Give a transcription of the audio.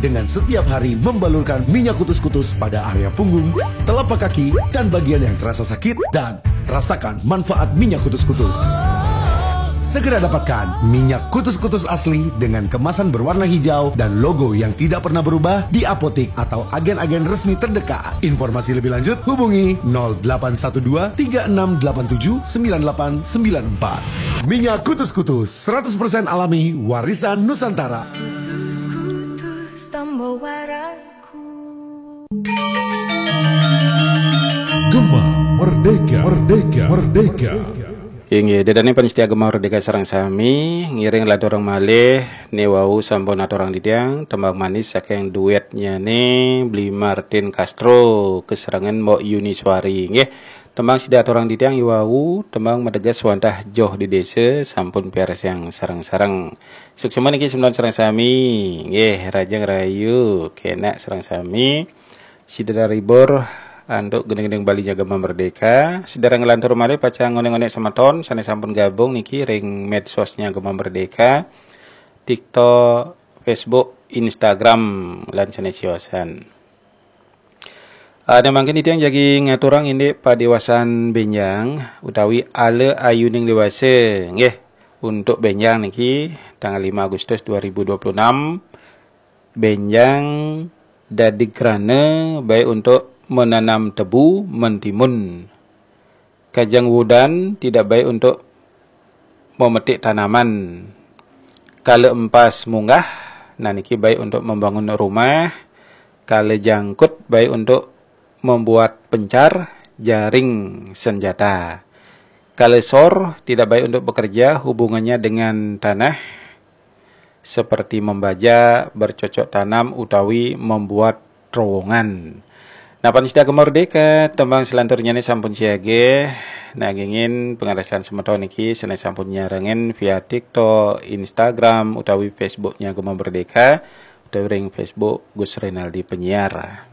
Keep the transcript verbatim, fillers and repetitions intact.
Dengan setiap hari membalurkan minyak kutus-kutus pada area punggung, telapak kaki, dan bagian yang terasa sakit, dan rasakan manfaat minyak kutus-kutus. Segera dapatkan minyak kutus-kutus asli dengan kemasan berwarna hijau dan logo yang tidak pernah berubah di apotik atau agen-agen resmi terdekat. Informasi lebih lanjut hubungi nol delapan satu dua tiga enam delapan tujuh sembilan delapan sembilan empat. Minyak kutus-kutus seratus persen alami, warisan Nusantara. Gema Merdeka, Merdeka, Merdeka. Inggih, ida dané pamiarsa Gema Merdeka sareng sami, ngiring lanturang malih né wau sampun aturang titiang tembang manis saking duétnyané Bli Martin Castro kasarengan Mbok Yuni Suari. Inggih, tembang sida aturang titiang i wau, tembang mateges wantah joh di désa sampun piarsayang sareng-sareng. Suksma niki semeton sareng sami. Nggih, rahajeng rahayu, kénak sareng sami. Sida terhibur antuk gending-gending Bali nya Gema Merdeka. Sida nglantur malih pacang ngonék-ngonék semeton sané sampun gabung niki ring medsosnya Gema Merdeka, TikTok, Facebook, Instagram, lan sané siosan. Ada mangkin titiang jagi ngaturang indik padéwasan bénjang utawi ala ayuning déwasa. Nggih, untuk bénjang niki tanggal lima Agustus dua ribu dua puluh enam, bénjang dadi krana baik untuk menanam tebu, mentimun. Kajeng wudan tidak baik untuk memetik tanaman. Kala empas munggah, nah niki baik untuk membangun rumah. Kala jangkut baik untuk membuat pencar, jaring, senjata. Kala sor tidak baik untuk bekerja, hubungannya dengan tanah, seperti membajak, bercocok tanam, utawi membuat terowongan. Nah, pamiarsa Gema Merdeka, tembang salanturnyané sampun siaga. Nah, nggih pangandikaning semeton niki sané sampun nyarengin via TikTok, Instagram, utawi Facebooknya Gema Merdeka, utawi ring Facebook Gus Renaldi Penyiar.